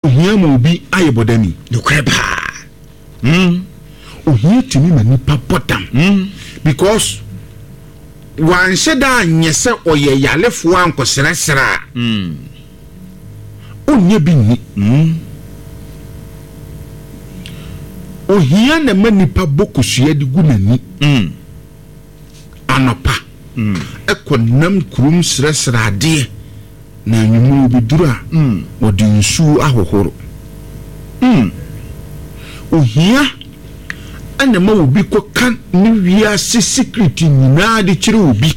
Ohia ma obi ayɛ bɔdamni. Nokorɛ paa. Mm. Ohia tumi ma nipa bɔ dam. Mm. Because wanhyɛ da anyɛ sɛ ɔyɛ yalefoɔ ankɔsrɛsrɛ a. Mm. Ɔnyɛ bi nni. Mm. Ohia na ɛma nipa bɔ kosua de gu n'ani. Mm. Anɔpa. Mm. Ɛkɔ nam kurom srɛsrɛ adeɛ. Na anwummere obeduru a, wɔde nsuo ahohoro. Ohia na ɛma obi kɔka ne wiase secret nyinaa de kyerɛ obi.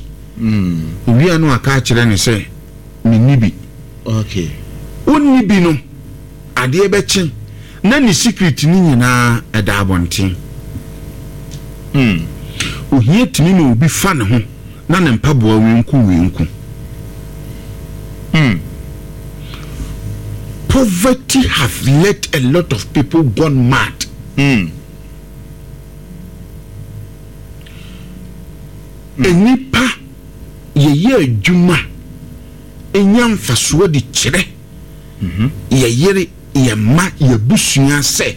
Owie a na waka akyerɛ no sɛ, Menni bi. Onni bi no, adeɛ bɛkye na ne secret no nyinaa ɛda abɔnten. Ohia tumi ma obi fa ne ho na ne mpaboa wenku wenku. Hmm. Poverty have let a lot of people gone mad. Hmm. Nnipa yɛyɛ adwuma nya mfasoɔ de kyerɛ yɛ yere, yɛ mma, yɛ abusua sɛ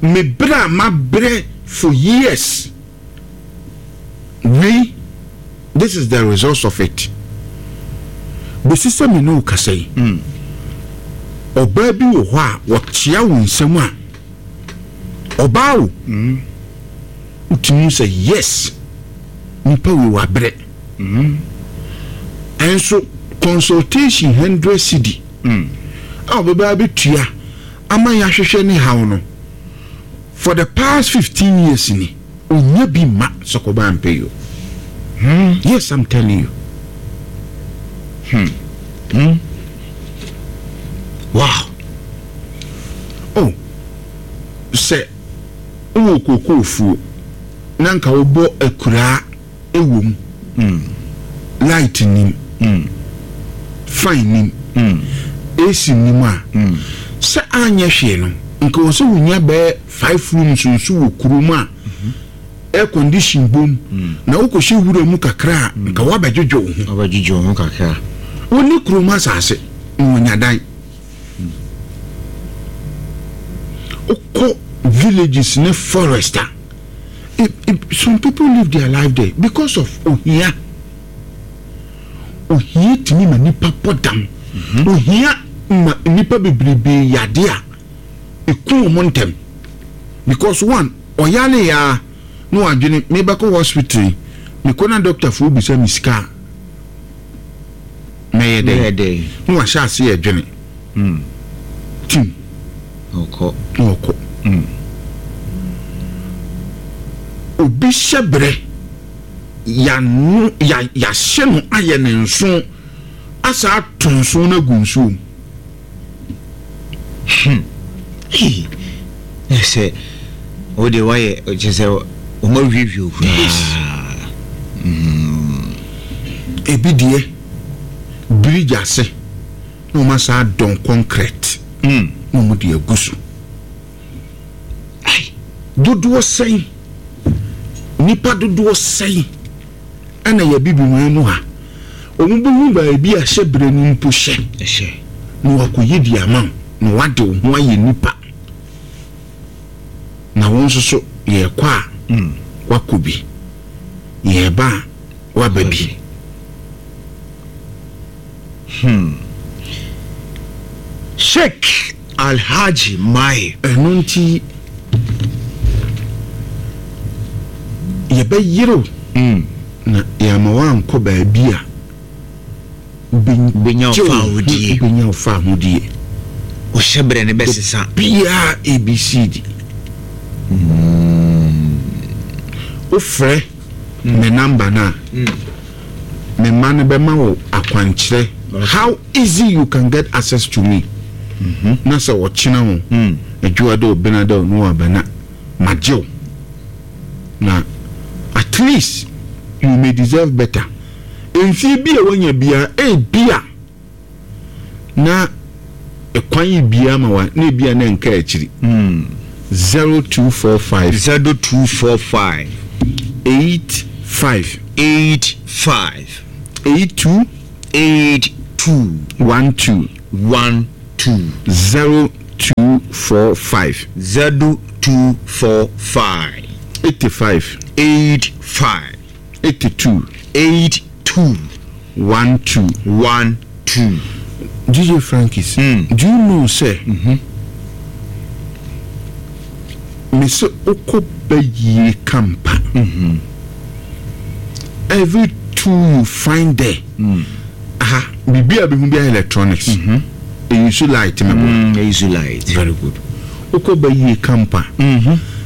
me brɛ a mabrɛ for years. Wei, this is the results of it. Bɛsi sɛ me ne wo kasa yi, ɔbaa bi wɔ hɔ a wɔkyea wo nsam a, ɔbaa o, wotumi hu sɛ yes, nipa wei wabrɛ. Ɛnso consultation hundred cedi a ɔbɛba abɛtua ama yɛahwehwɛ ne haw no, For the past 15 years ni onya bi mma sɔkɔba ampɛ yi o. Hmm. Yes, I'm telling you. Hmm. Hmm. Wow. Oh, sɛ wowɔ kookoo fuo na nka wobɔ akuraa wɔ mu, light nnim, fan nnim, AC nnim a, sɛ anyɛ hwee no, nka wɔ sɛ wonya bɛyɛ five rooms nso wɔ kurom a air condition bom, na wokɔhyɛ wura mu kakra a, nka woabɛdwodwo wo ho. Wobɛdwodwo wo ho kakra. Wonni kurom asase na wɔnya dan. Wokɔ villages ne forest a, some people live their life there because of ohia. Ohia tumi ma nipa bɔ dam. Mhm. Ohia ma nipa bebrebe yade a eku wɔn ntɛm because one ɔyare ya na wadwene mebɛkɔ hospital yi mekɔ na doctor fo bisa me sika a mɛyɛ dɛn na wahyɛ ase yɛ dwene. Tim. Na ɔkɔ. Na ɔkɔ. Obi hyɛ berɛ, yɛano, ya, yɛahyɛ no ayɛ ne nso, asa ato nso no agu nsuo mu. Hmm. Hey. Na sɛ wo deɛ woayɛ kyerɛ sɛ wɔn awiewie wo koraa. Yes. Ebi deɛ, bridge ase. na wɔn asan adɔn kɔnkrɛt na wɔn de agu so. Ai, dodoɔ sɛn, nnipa dodoɔ sɛn ɛna yɛ Abibiman mu ha, wɔn bɛhu baabi a hyɛbrɛ no mpo hyɛ, na wakɔyi de ama wo, na wade wo ho ayɛ nipa, na wo nso so yɛrekɔ a wakɔ bi, yɛreba a waba bi. Hmm. Sheik Alhaji Mai. Ɛno nti yɛbɛyere wo na yɛama woankɔ baabi a wobɛnya wo fawohodie. Wobɛnya wo fawohodie. Wo hyɛberɛ no bɛsesa. Biara ABCD. Wofrɛ me number no a. Me mma no bɛma wo akwankyerɛ how easy you can get access to me na sɛ ɔkyena o, Adwoada o, Benada o na waba na magye wo na at least you may deserve better. Mfie bi a wanya biara ebia na ɛkwan yi bia ma wa na ebia na nka akyiri. 0245. 0245. 85. 85. 82. 82. 12. 12. 245. 0245. 85. 85. 82. 82. 12. 12. DJ Frankis, do you know sɛ me se wokɔ bayie kampa every tool you find there aha biribi a bɛhu biara electronics ɛyi so light mɛboa. Ɛyi so light. Very good. Wokɔ bayie kampa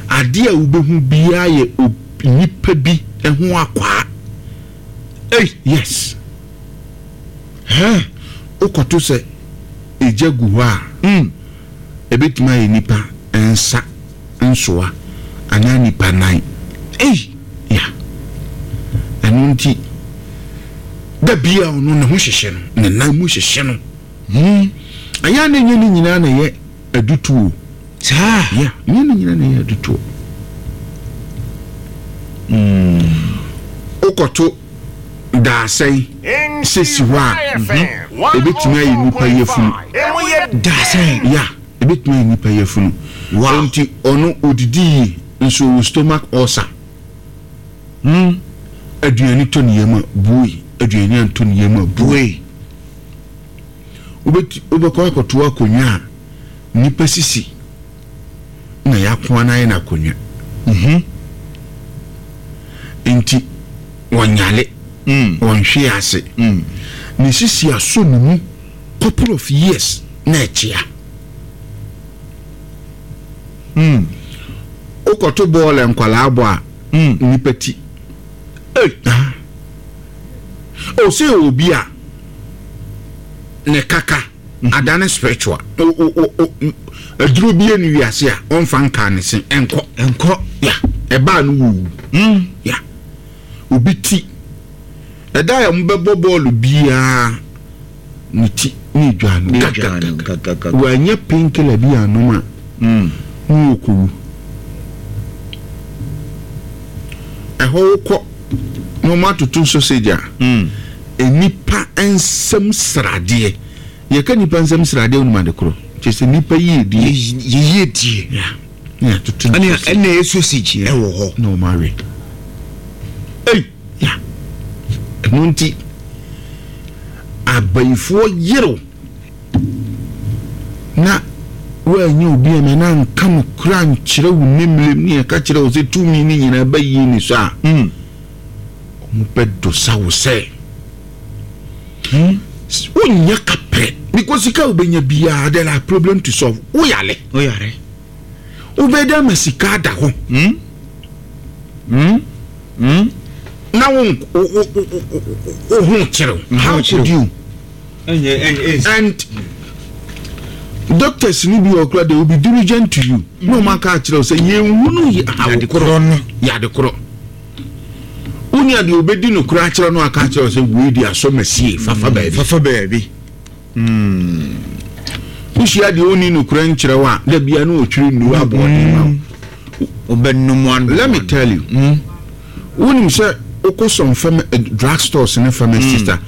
adeɛ a wobɛhu biara yɛ nipa bi ho akwaa. Ei! Yes. Hɛn, wokɔto sɛ egya gu hɔ a, ebetumi ayɛ nipa nsa nsoa anaa nipa nan. Ei! Yeah. Ɛno nti, da bi a ɔno ne ho hyehye no, ne nan mu hyehye no. Ɛyɛ a na ɛnyɛ ne nyinaa na ɛyɛ adutoɔ. Saa? Yeah, ɛnyɛ ne nyinaa na ɛyɛ adutoɔ. Wokɔto daasɛn sɛ si hɔ a, ɛbɛtumi ayɛ nipa yafunu. Daasɛn? Yeah, ɛbɛtumi ayɛ nipa yafunu. Wow. Nti ɔno odidi yie nso ɔwɔ stomach ulcer. Aduane tɔ ne yam a, bue. Aduane antɔ ne yam a, bue. Wobɛti wobɛkɔ akɔto akonnwa a nnipa sisi na yɛakoa no ayɛ no akonnwa. Mhm. Nti wɔnyale, wɔnhwe ase. Ne sisi asɔ ne mu couple of years na ɛkyea. Wokɔto bɔɔl nkwadaa bɔ a, nnipa ti. Ei! Ah. Oh, sɛ yɛ obi a ne kaka adane spiritual. O o o o aduro bi ni wiase a ɔmfa nka ne se ɛnkɔ. Ɛnkɔ. Ya, ɛbaa no wuwu. Ya. Obi ti. Ɛda a wɔbɛbɔ bɔɔlo biara ne ti ne dwa no. Ne dwa no gagagaga. Wanya painkiller bi anom a ne ɔkɔwu. Ɛhɔ wokɔ na wɔn atoto sausage a, nnipa nsam sradeɛ. Yɛka nnipa nsam sradeɛ wonim ade korɔ? Kyerɛ sɛ nnipa yiedie. Yiedie. Yeah. Na yɛatoto no sausage. Ɛna ɛyɛ sausage ɛwɔ hɔ. Na wɔn awe. Ei! Yeah. Ɛno nti, abayifoɔ yerew na woannya obi ama no anka nokorɛ ankyerɛ wo nemmerem ne ɛka kyerɛ wo sɛ tumi no nyinaa ba yie ni so a, wɔbɛdosa wo sɛ wonnya kaprɛ because sika a wobɛnya biara there are problem to solve. Woyare. Woyare. Wobɛda ama sika ada hɔ. Na wo wo ho kyerɛw. How could you? And doctors ni bi wɔ kora they will be diligent to you. Na wɔn aka akyerɛ wo sɛ yɛn hunu yɛ awokorɔ no. Yɛ adekorɔ. Wonya deɛ obedi no kora akyerɛ no aka akyerɛ wo sɛ wei di asɔ masie fafa baabi. Fafa baabi. Wohyia deɛ ɔnni nokorɛ nkyerɛ wo a, da biara na ɔtwiri nnuro aboɔden ma wo. Wobɛnom ano. Let me tell you. Wonim sɛ wokɔ some pharma, eh, drug stores ne pharmacies a,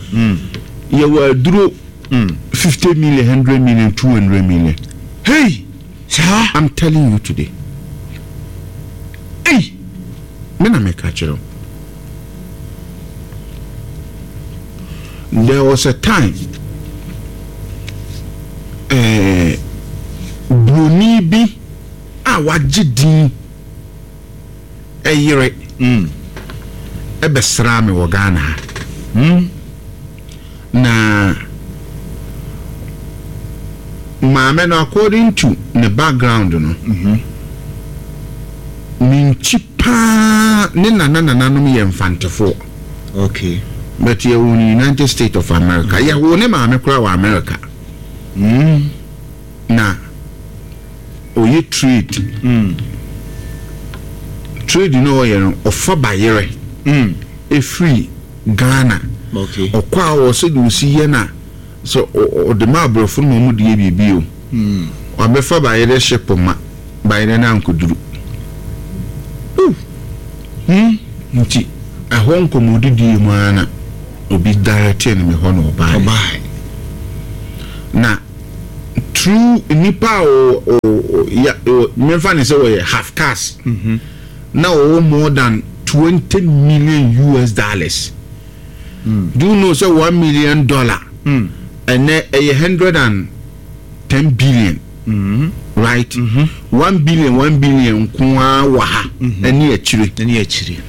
yɛwɔ aduro 50 million, 100 million, 200 million. Hey! Saa? I'm telling you today. Hey! Me na meka kyerɛ wo. There was a time eh, broni bi a wagye din ɛyere mm. ɛbɛsraa me wɔ Ghana ha. Na maame no according to ne background no, ne nkyi paa ne nana nananom yɛ Mfantefoɔ. Okay. But yɛwoo no United States of America. Yɛwoo ne maame koraa wɔ America. Na ɔyɛ trade. Trade no ɔyɛ no, ɔfa bayerɛ ɛfiri Ghana. Okay. Ɔkɔ a ɔwɔ sɛdeɛ ɔsi yɛ no a, sɛ ɔde ma aborɔfo no ma wɔde yɛ biribi o. Wabɛfa bayerɛ ship ma bayerɛ no ankɔduru. Nti ɛhɔ nkɔmmɔdidie mu ara na obi directee no me hɔ na ɔbaeɛ. Ɔbaeɛ. Na. Through nipa a ɔ ɔ ɔ ya ɔ memfa ne sɛ wɔyɛ half caste na ɔwɔ more than 20 million US dollars. Do you know sɛ $1 million ɛnɛ ɛyɛ 110 billion, right? 1 billion, 1 billion nko ara wɔ ha ɛne akyire. Ɛne akyire.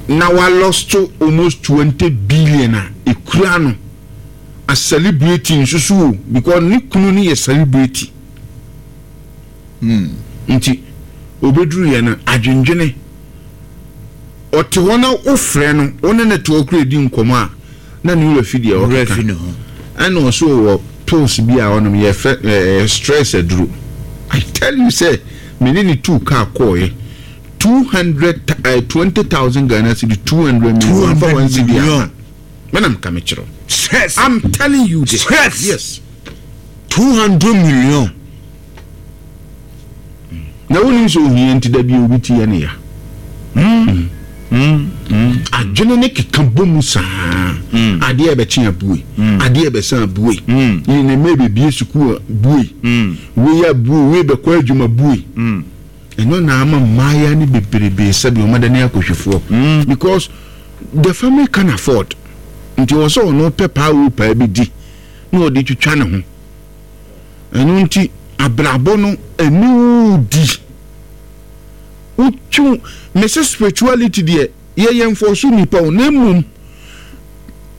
Na wa lost almost 20 billion a ekura no a celebrity nso so o, because ne kunu no yɛ celebrity. Nti obeduru yɛ no adwendwene, ɔte hɔ na wofrɛ no, wo ne ne te hɔ kura di nkɔmɔ a, na ne wura fi deɛ wura ɔkeka fi ne ho. Ɛna ɔso wɔ pills bi a ɔnom, yɛfrɛ stress aduro. I tell you sɛ me ne ne tuu kaa kɔɔɛ 220,000 Ghana cedi, 200 million fa 1 cedi million. Mɛnam ka me kyerɛw. Stress. I'm telling you this. Stress. Yes. 200 million. Na wonim sɛ ohia nti da bi obi ti yɛ ne ya, adwene ne keka bɔ mu saa, adeɛ a ɛbɛkye abue, adeɛ a ɛbɛsan abue, yi ne mma bɛbie sukuu a bue, wei abue, wei bɛkɔ adwuma bue. Ɛno na ama mmaayɛ ne bebrebe sɛdeɛ ɔmada ne akɔhwifoɔ, because the family can afford. Nti wɔ sɛ ɔno pɛ paa wo paa bi di na ɔde twitwa ne ho. Ɛno nti abrabɔ no ɛne wo di wotwe mese spirituality deɛ, yɛyɛ mfɔso nipa o, na mmom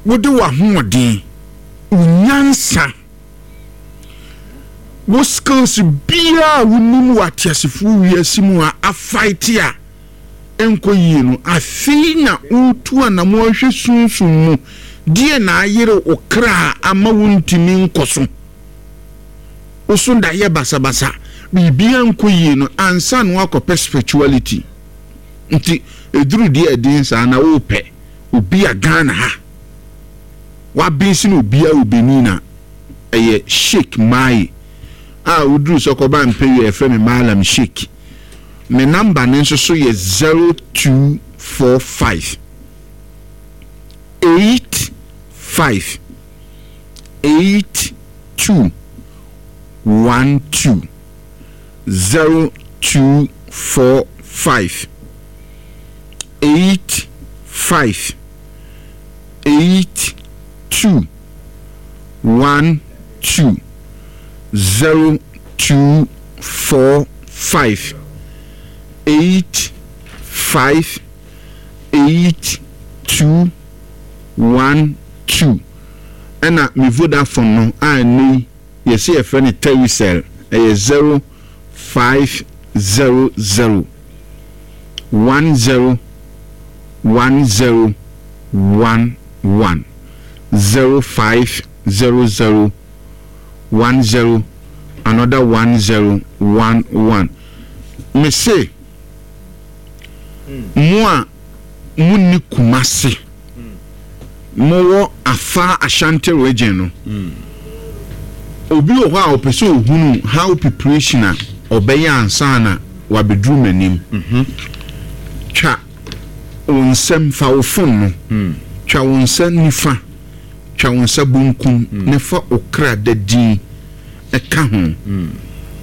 wode w'ahoɔden, wo nyansa, wo skills biara a wonim wɔ ateasefoɔ wiase mu a afight a ɛnkɔ yie no, afei na wotu anamo ahwɛ sunsum mu deɛ na ayere wo kra ama wontumi nkɔ so, wo so da yɛ basabasa, biribiara nkɔ yie no ansa na woakɔpɛ spirituality. Nti ɛduru deɛ ɛden saa na wopɛ obi a Ghana ha wabɛnsi no, obiara wɔ Benin a ɛyɛ Sheik Mai a woduru sɛ kɔba mpɛwi a yɛfrɛ me Malam Sheik. Me number ne nso so yɛ 0245 85 82 12, 0245 85 82 12, 0245 85 82 12. Ɛna me Vodafone no a ɛnɛ yi yɛsɛ yɛfrɛ no Telecel, ɛyɛ 0500 10 10 11, 0500 10 another 10 11. Me se mo a munni Kumase, mowɔ afa Ashanti Region no, obi wɔ hɔ a ɔpɛ sɛ ohunu how preparation a ɔbɛyɛ ansa na wabɛduru m'anim. Twa wo nsam, fa wo phone no twa wo nsa nifa, twa wo nsa bonkum na fa wo kra da din ɛka ho.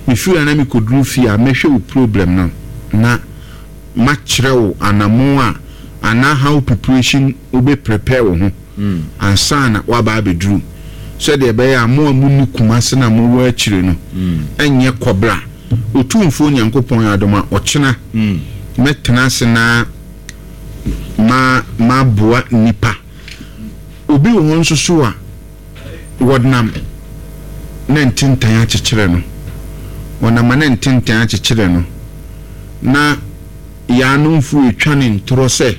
Mefiri ha na mekɔduru fie a, mɛhwɛ wo problem no na makyerɛ wo anammɔn a anaa how preparation wobɛ prepare wo ho ansa na woaba abɛduru, sɛdeɛ ɛbɛyɛ a mo a monni Kumase na mowɔ akyire no ɛnyɛ kɔbra. Otumfoɔ Nyankopɔn adom a, ɔkyena mɛtena ase na ma maboa nnipa. Obi wɔ hɔ nso so a wɔnam na ntentan akyekyere no, wɔnam a na ntentan akyekyere no, na yaanomfo retwa ne ntorɔ sɛ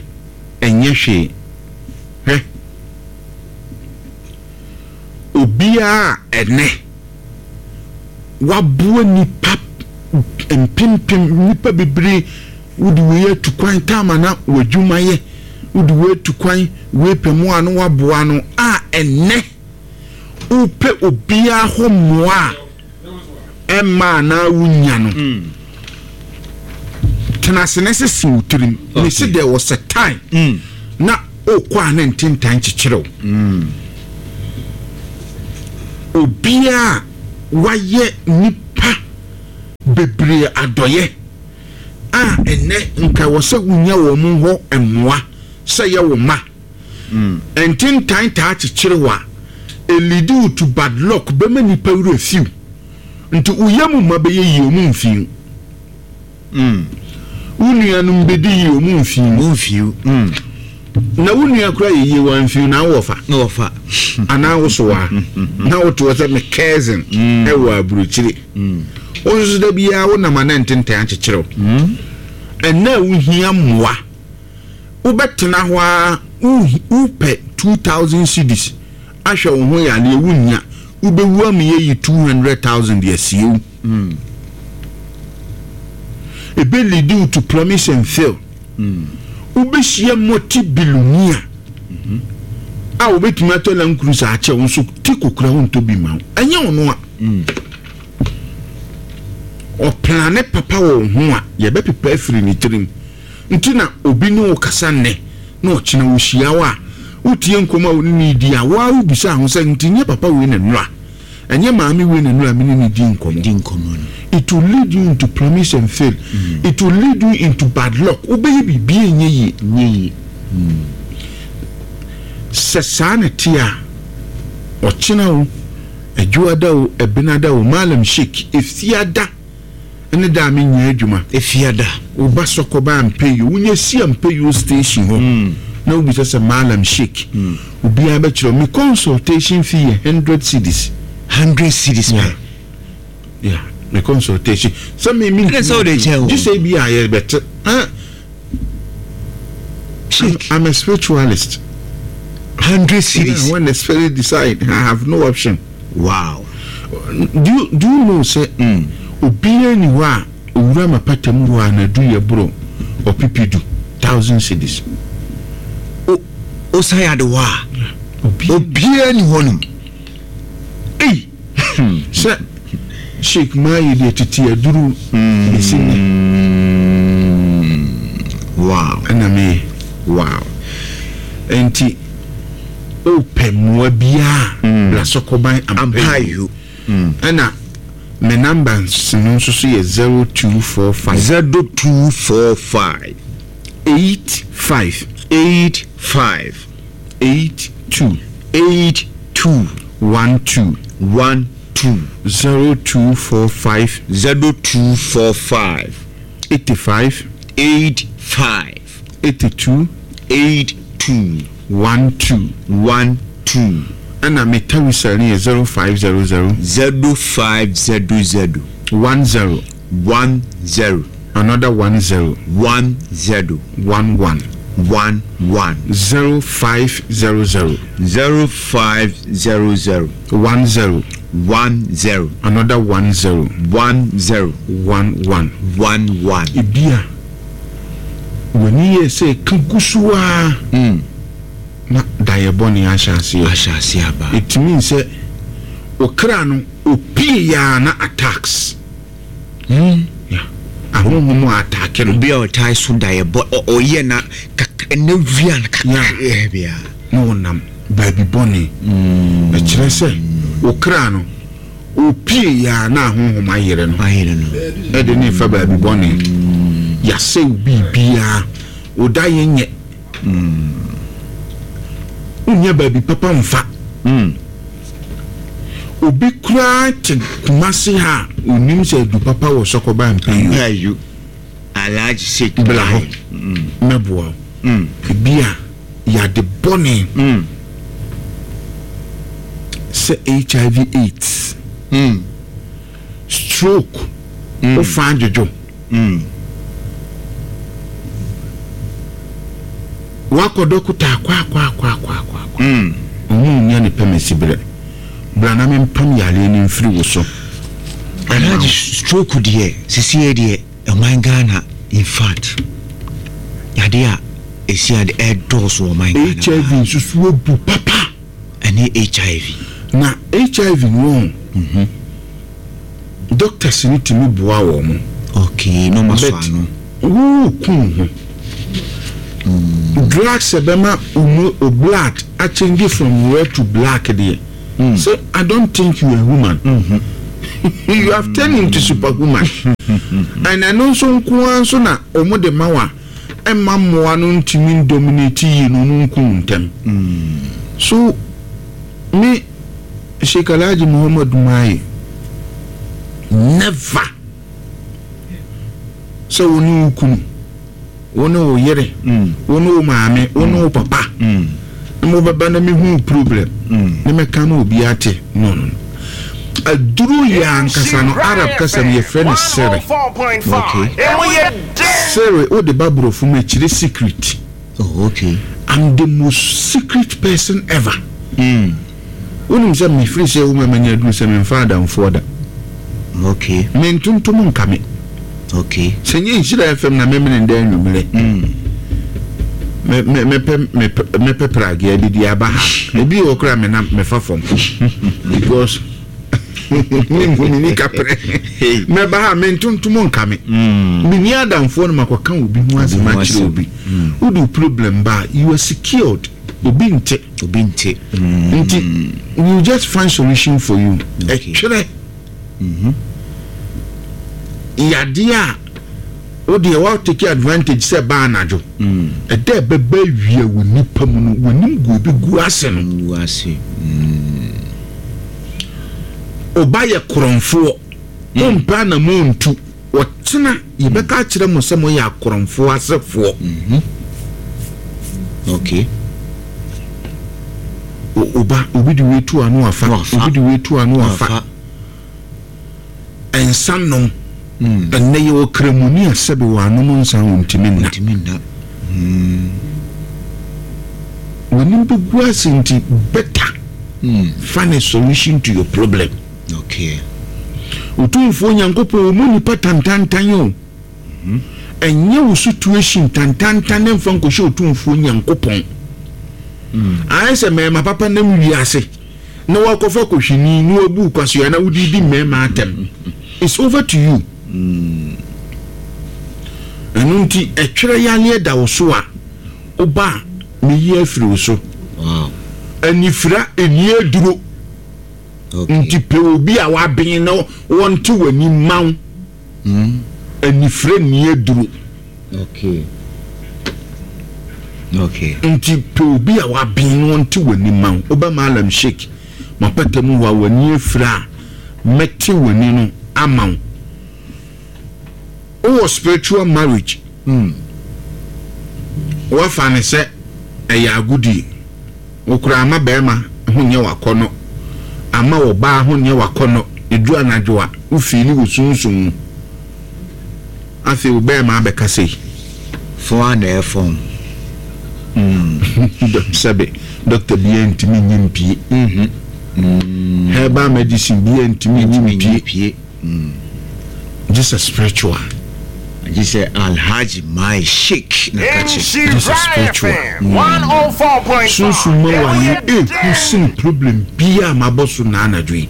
ɛnyɛ hwee. Hwɛ, obiara a ɛnɛ waboa nnipa mpempem, nnipa bebree, wode wei atu kwan taama na w'adwuma yɛ, wode wei atu kwan, wei pɛ mu a na waboa no a, ɛnɛ wopɛ obiara hɔ mmoa a ɛmma anaa wonya no, tena ase na sisi wo tirim ne si there was a time na okɔ a ne ntentan kyekyere wo. Obiara. wayɛ nnipa bebree adɔyɛ a ɛnnɛ nka ɛwɔ sɛ wonya wɔn hɔ mmoa sɛ yɛ wo mma. Ntentan taa kyekyere wo a, ɛleadi wo to bad luck, bɛma nnipa werɛ fi wo. Nti wo yam mma bɛyɛ yie, wɔn mfi wo. Wo nuanom bɛdi yie, wɔn mfi wo. Wɔn mfi wo. Na wo nua koraa yɛ yie, wamfi wo, na wo wɔfa. Na wɔfa. Anaa wo so waa. Na wote hɔ sɛ me cousin ɛwɔ aburokyire. Wo nso da biara wonam a na ntentan akyekyere wo. Ɛnnɛ a wohia mmoa, wobɛtena hɔ ara, wopɛ 2000 cedis ahwɛ wo ho yareɛ, wonnya, wobɛwu ama yɛayi 200,000 de asie wo. Ebe lead wo to promise and fail. Wobɛhyia multi billionaire a wobɛtumi atɔ Land Cruiser akyɛ wo nso ti kokora wontɔ bi ma wo. Ɛnyɛ ɔno a. Ɔplane papa wɔ wo ho a yɛbɛpepa afiri ne tirim. Nti na obi ne wo kasa nnɛ na ɔkyena wohyia wo a wotie nkɔmmɔ a wo ne no redi a wo ara wobisa ho sɛ nti nyɛ papa wei na nnura. Ɛnyɛ maame wei na nnura me ne no di nkɔmmɔ. Di nkɔmmɔ no. It will lead you into promise and fail. It will lead you into bad luck. Wobɛyɛ biribi a ɛnyɛ yie. Nyɛ yie. Sɛ saa na ɛte a, ɔkyena o, Adwoada o, Ɛbenada o, Mallam Sheik, Efiada ne da a menyɛ adwuma. Efiada. Wo ba sɔkɔ ba Ampeyoo, wonya si Ampeyoo station hɔ na wobisa sɛ Mallam Sheik, obiara bɛkyerɛ wo. Me consultation fee yɛ hundred cedis. Hundred cedis pɛ? Yeah, me consultation. Sɛ me me Ɛna sɛ wode kyɛ o. Gye sɛ ebi a yɛbɛte. Ah, Sheik. I'm a spiritualist. 100 cedis. Yeah, when the spirit decide, I have no option. Wow. Do you know sɛ obiara ni hɔ a owura mapata mu hɔ a n'adu yɛ boro ɔpepe du thousand cedis. O osan ade hɔ a. Obiara ni hɔ nom. Ei. Sɛ Sheik Mayi deɛ tete aduru bɛsi nnɛ. Wow. Ɛna meyɛ. Wow. Enti wopɛ mmoa biara bra Sɔkɔban Ampayo. Ɛna me number no nso so yɛ 0245. 0245. 85. 85. 82. 82. 12. 12. 0245. 0245. 85. 85. 82. 82. 12. 12. Ɛna me tawisa no yɛ 0500. 0500. 10. 10. Another 10. 10. 11. 11. 0500. 0500. 10. 10. Another 10. 10. 11. 11. Ebia w'ani yɛ sɛ ɛka gu so ara na daeɛ bɔne ahyɛ aseɛ. Ahyɛ aseɛ aba. Ɛtumi sɛ okra no opie yaa na attacks. Yeah. Ahonhom a attack no. Obi a ɔtae so daeɛ bɔ ɔyɛ na kakra na wia no kakra bia. Na ɔnam baabi bɔne. Ɛkyerɛ sɛ okra no opie yaa na ahonhom ayere no. Ayere no. Ɛde ne fa baabi bɔne. Yasɛ wo biribiara. Wo daeɛ nyɛ. Wonnya baabi papa mfa. Obi koraa te Kumasi ha a onim sɛ adu papa wɔ Sɔkɔba Mpayu. Alhaji Sheikh Bla hɔ mɛboa wo. Ebi a yade bɔne sɛ HIV AIDS, stroke, wofa adwodwo. Wakɔ dɔkota akwaakwaakwaakwaakwa. Ɔmo nnya ne pɛmɛsi berɛ. Bra na mempam yareɛ no mfiri wo so. Alhaji stroke deɛ sisiɛ deɛ ɔman Ghana infact yadeɛ a ɛsi ade ɛdɔɔso wɔ ɔman Ghana HIV paa. nso so abu papa. Ɛne HIV. Na HIV no wɔn doctors no tumi boa wɔn. Okay, na ɔmo asɔ But ano. wo ku wo ho. Drugs a ɛbɛma wo mu wo blood a change from red to black deɛ. Sɛ I don't think you are human. You have turned into superhuman. And ɛno nso nko ara nso na wɔn de ma wa ɛma mmoa no ntumi ndominate yie no wɔn nku ntɛm. So me Sheikh Alhaji Muhammad Maye never sɛ wo ne wo kunu, wo ne wo yere, wo ne wo maame, wo ne wo papa na mobɛba na mehu wo problem na mɛka ma obi ate. No, no, no. Aduro yɛ ankasa no, Arab kasa mu yɛfrɛ no sere. Okay. Sere, wode ba borɔfo mu ɛkyerɛ secret. Oh, okay. I'm the most secret person ever. Wonim sɛ mefiri sɛ wo ma manya aduru sɛ memfa adamfoɔ da. Okay. Me ntontom nka me. Okay. Sɛ nyɛ Nhyira FM na memene ndɛ anwummerɛ. Me me mepɛ mepɛ mepɛ pragea bi de aba ha. Ebi wɔ koraa me nam mefa fam. Because menhu me ni kaprɛ. Mɛba ha me ntontom nka me. Menni adamfoɔ no makɔka obi ho asɛm akyerɛ obi. Wode wo problem ba a, you are secured. Obi nte. Obi nte. Nti we will just find solution for you. Ɛtwerɛ yadeɛ a wo deɛ wa take advantage sɛ ɛba anadwo. Ɛda ɛbɛba awia wɔ nipa mu no, w'anim gu obi gu ase no. Gu ase. Ɔba yɛ korɔmfoɔ. Mompɛ anamɔ ntu. Ɔkyena yɛbɛka akyerɛ mo sɛ moyɛ akorɔmfoɔ asefoɔ. Okay. Oba, obi de wei tu ano afa, obi de wei tu ano afa. Nsa nom. Ɛnnɛ yɛwɔ kramoni a sɛbe wɔanom nsa a wɔntumi nna. Wɔntumi nna. W'anim bɛgu ase nti better find a solution to your problem. Okay. Otumfoɔ Nyankopɔn ɔmmu nnipa tantantan o. Ɛnyɛ wo situation tantantan na mfa nkɔhyɛ Otumfoɔ Nyankopɔn. Ayɛ sɛ mmarima papa nam wiase na wakɔfa kɔhwini na wabu wo kwasea na wode di mmarima atɛm. It's over to you. Ɛno nti ɛtwerɛ yareɛ da wo so a, woba a meyi afiri wo so. Wow. Anifira ɛnni aduro. Nti pɛ obi a waben na ɔnte w'ani mma wo. Anifere nni aduro. Nti pɛ obi a waben na ɔnte w'ani mma wo. Woba Mallam Sheik m'apata mu hɔ a w'ani afira a, mɛte w'ani no ama wo. Wowɔ spiritual marriage, woafa no sɛ ɛyɛ agodie. Wo koraa ama barima ho nyɛ wo akɔnnɔ, ama ɔbaa ho nyɛ wo akɔnnɔ, ɛduru anadwo a, wo fiili wo sunsum mu. Afei wo barima abɛka sei. Fɔn a na ɛfɔn. Sɛbe, dɔkta biara ntumi nyi mpie. Herbal medicine biara ntumi nyi mpie. Gye sɛ spiritual. Gye sɛ Alhaji Mai Sheik na ka kye. Gye sɛ spiritual. Sunsum ma wale ehu sen problem biaa mabɔ so naa anadwo yi.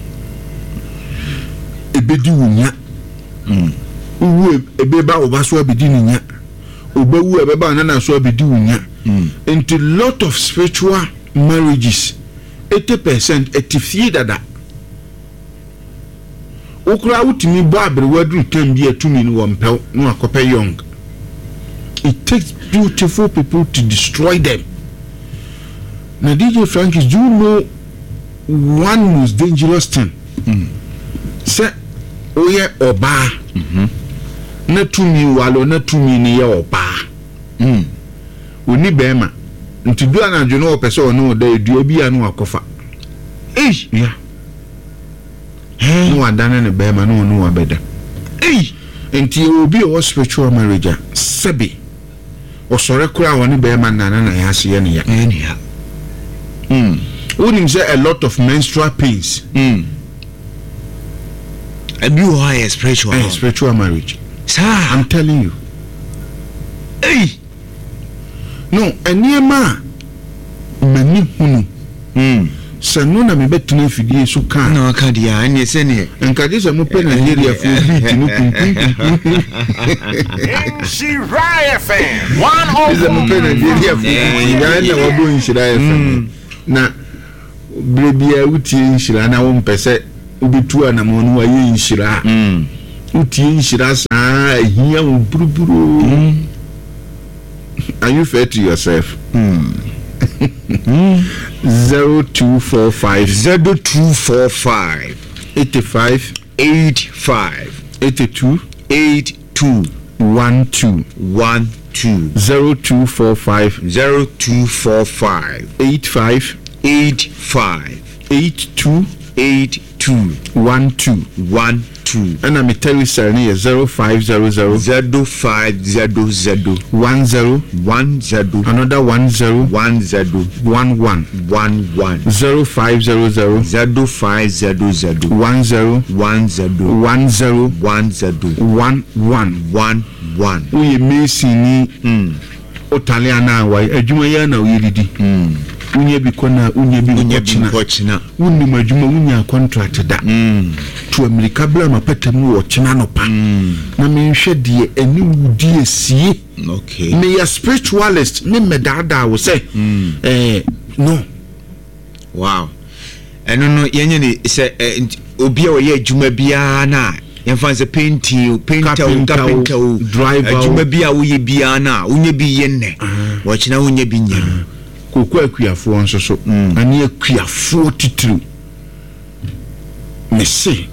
Ebedi wo nya. Wowu ebeba wo ba so abedi ne nya. Obewu ɛbɛba wo nana so abedi wo nya. Nti lot of spiritual marriages 80% ɛte fie dada. Wo koraa wotumi bɔ aberewa duru time bi a tumi no wɔmpɛ wo na wakɔpɛ young. It takes beautiful people to destroy them. Na DJ Frankis, do you know one most dangerous thing? Sɛ woyɛ ɔbaa na tumi wale na tumi no yɛ ɔbaa. Ɔnni bɛrima nti du anadwo na ɔpɛ sɛ ɔne wo da dua bi a na wakɔfa. Ei! Yeah. Na wadane ne bɛrima na ɔne wo abɛda. Ei! Nti yɛwɔ obi a ɔwɔ spiritual marriage a, sɛbe ɔsɔre koraa a ɔne bɛrima nna na n'ayase yɛ ne ya. Ɛyɛ ne ya. Wonim sɛ a lot of menstrual pains. Ebi wɔ hɔ a ɛyɛ spiritual. Ɛyɛ spiritual marriage. Saa. I'm telling you. Ei! No, nneɛma a m'ani hunu. Sɛ no na mebɛtena afidie so ka a. Na waka deɛ a, ɛnneɛ sɛdeɛ. Nka gye sɛ mopɛ Nigeriafoɔ beat no kunkunkunkum. Nhyira FM Gye sɛ mopɛ Nigeriafoɔ beat no, ɛnna wabɔ Nhyira FM. Na berɛ biara wotie Nhyira na wompɛ sɛ. Wobɛtu anamɔn no wayɛ nhyira a, wotie nhyira saa ahia wo buruburoo. Are you fair to yourself? 0245. 0245. 85. 85. 82. 82. 12. 12. 0245. 0245. 85. 85. 82. 82. 12. 12. Ɛna me Telecel no yɛ 0500. 0500. 10. 10. Another 10. 10. 11. 11. 0500. 0500. 10. 10. 10. 10. 11. 11. Woyɛ mason ni. Wotale anaa wayɛ adwuma yi ara na woyɛ didi. Wonya bi kɔ na wonya bi nkɔ kyena. Wonnim adwuma wonyaa contract da. Tu amirika bra m'apata mu wɔ ɔkyena anɔpa na menhwɛ deɛ ɛne wo di asie. Meyɛ spiritualist me mmɛdaadaa wo sɛ eh, no. Wow. Ɛno no yɛnyɛ ne sɛ eh, obi a ɔyɛ adwuma biara no a yɛmfa sɛ painting o painter o carpenter o driver o adwuma bi a woyɛ biara no a wonya bi yɛ nnɛ ah. wɔkyena wonya bi nyɛ no. Ah. Koko akuafoɔ nso so ɛne akuafoɔ titiriw mese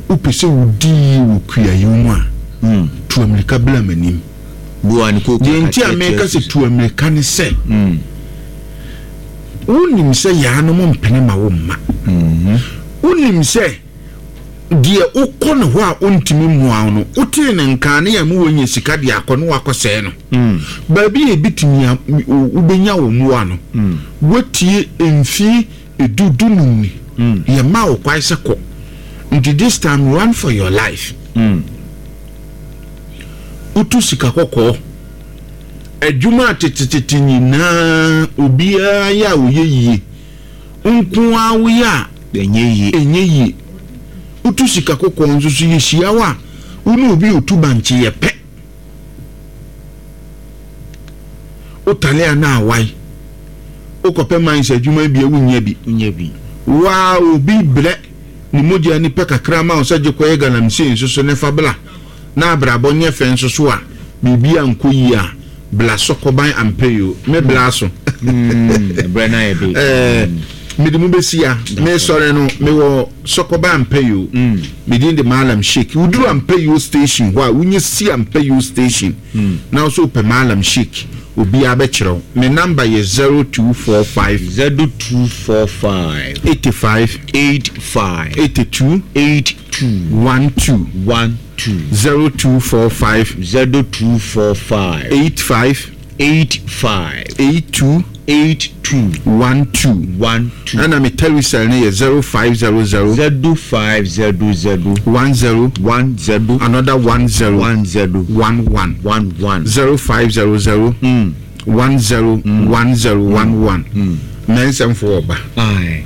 wopɛ sɛ wodi yie wɔ kuayɛ mu a tu amirika bla m'anim. Deɛ nti a meka sɛ tu amirika ne sɛ wonim sɛ yaanom mpene ma wo mma. Wonim sɛ deɛ wokɔ ne hɔ a ɔntumi mmoa wo no, wotee ne nka ne yɛn mu wɔnya sika de akɔ ne wakɔsɛe no. Baabi a ebitumi a wobɛnya wo mmoa no, woatie mfie edu dunum ni, yɛmaa wo kwae sɛ kɔ. Nti this time run for your life. Wotu sika kɔkɔɔ. Adwuma a tetetete nyinaa obiara yɛ a ɔyɛ yie. Wo nko ara woyɛ a, ɛnyɛ yie. Ɛnyɛ yie. Wotu sika kɔkɔɔ nso so yɛhyia wo a, wo ne obi a ɔtu bankye yɛ pɛ. Wotale a na awae. Wokɔpɛ mines adwuma bi a wonnya bi. Wonnya bi. Wo ara obi brɛ ne mogya ani pɛ kakra ma wo sɛ gye kɔyɛ galamsey nso so ne fa bla na abrabɔ nyɛ fɛ nso so a biribi ankɔ yie a bla sɔkɔban ampɛ o me bla so. Ɛbrɛ no ayɛ de. Ɛɛ mede mo bɛsi a mesɔre no mewɔ sɔkɔban ampɛ o me din de Mallam Sheik woduru Ampɛyo station hɔ a wonya si Ampɛyo station na wo so wopɛ Mallam Sheik obiara bɛkyerɛ wo me number yɛ 0245 0245 85 85 82 82 12 12 0245 0245 85 85 82 82 12 12 ɛna me Telecel no yɛ 0500 0500 10 10 another 10 10 11 11 0500 10 10 11 mɛnsɛmfo ɔba. Aye.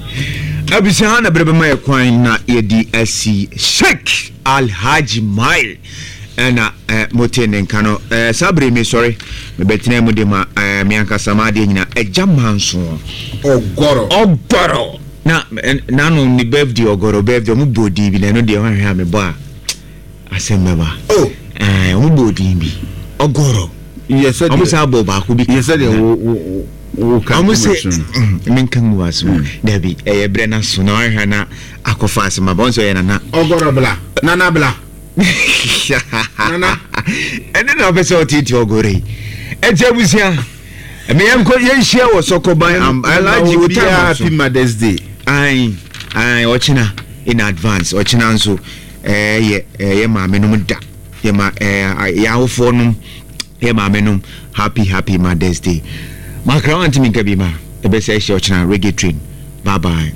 Abusua ha na bere bɛma yɛ kwan na yɛde asi Sheikh Alhaji Mile ɛna eh, mote ne nka no eh, saa bere mesɔre mebɛtena mu de ma eh, me ankasa m'adeɛ nyina agya manso Ɔgɔrɔ. Ɔgɔrɔ na eh, nano ne birthday ɔgɔrɔ birthday ɔmo bɔ din bi na ɛno deɛ hwɛhwɛ a mebɔ a asɛm bɛba Oh. Eh, ɔmo bɔ din bi ɔgɔrɔ Yɛ sɛ ɔmo deɛ saa bɔ baako bi yɛ sɛ deɛ wo wo wo ka ɔmo gu sɛ m'aso no. menka ngu aso dabi ɛyɛ berɛ no so na wahwɛ na akɔfa asɛm aba ɔn sɛ ɔyɛ nana Ɔgɔrɔ bla nana bla nana. Ɛne na ɔpɛ sɛ ɔteete ɔgɔrɔ yi ɛnti abusua ɛmɛ yɛnkɔ yɛnhyia wɔ sɔkɔban alagye wo time aso Happy Mother's Day. Ae ae ɔkyena in advance ɔkyena nso ɛyɛ ɛyɛ maame nom da yɛ ma ɛɛ yɛ awofoɔ nom yɛ maame nom happy happy Mother's Day makra wantumi nka bi ma ɛbɛsɛ ɛhyɛ ɔkyena reggae train bye bye.